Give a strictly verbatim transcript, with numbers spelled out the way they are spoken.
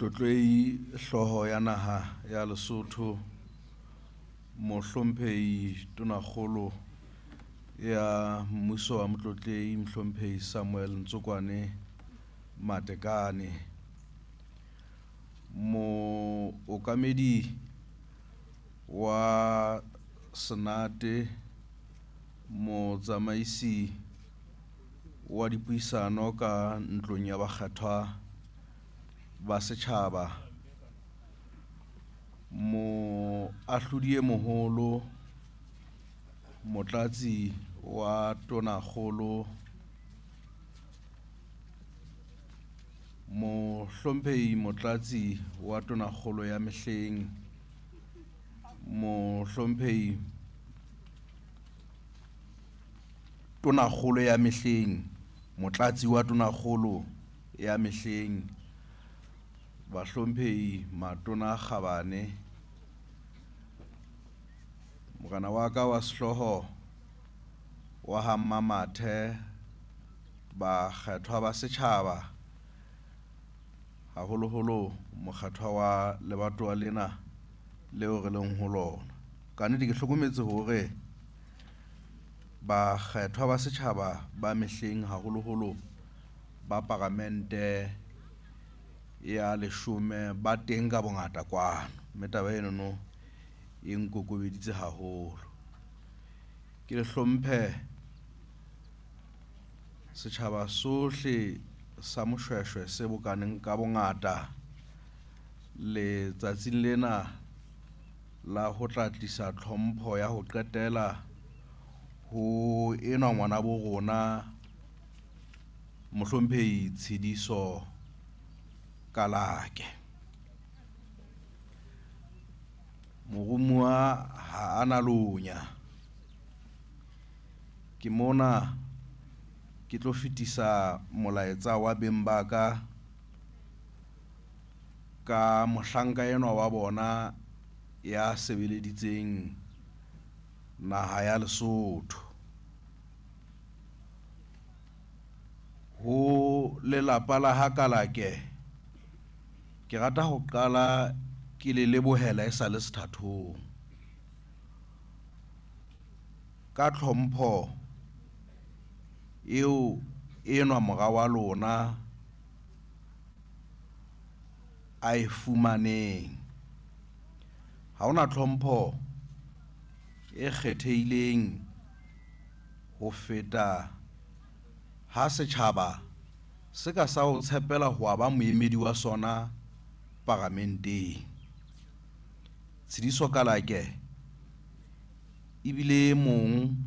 Motlotlehi hlooho ya naha ya Lesotho, Mohlomphehi Tonakgolo ya mmuso wa Motlotlehi Mohlomphehi Samuel Ntsokoane Matekane, Mookamedi wa Senate, Motsamaisi wa dipuisano ka ntlong ya bakgethwa ba setjhaba, Moahlodi e Moholo, Motlatsi wa Tonakgolo, Mohlomphehi Motlatsi wa Tonakgolo ya mehleng, Mohlomphehi Tonakgolo ya mehleng, Motlatsi wa Tonakgolo ya mehleng, Bahlomphehi Matona a Kgabane, Morena wa ka wa sehlooho wa ha Mmamathe, bakgethwa ba setjhaba, haholoholo mokgethwa wa lebatowa lena leo re leng ho lona. Ka nnete ke hlokometse hore bakgethwa ba setjhaba ba mehleng haholoholo ba paramente ya leshome ba teng ka bongata kwano, mme taba enono e nkokobeditse haholo. Ke le hlomphe setjhaba sohle sa Moshweshwe se bokaneng ka bongata letsatsing lena la ho tla tlisa tlhompho ya ho qetela ho enwa ngwana bo rona Mohlomphehi Tshidiso Kalake. Moromuwa ha a na lonya. Ke mona ke tlo fetisa molaetsa wa beng ba ka ka mohlanka enwa wa bona ya sebeleditseng naha ya Lesotho. Ho lelapa la ha Kalake ke rata ho qala ke le lebohela e sa le sethathong ka tlhompho eo enwa mora wa lona a e fumaneng. Ha hona tlhompho e kgethehileng ho feta ha setjhaba se ka sa o tshepela ho ba moemedi wa sona paramenteng. Tshidiso Kalake ebile e mong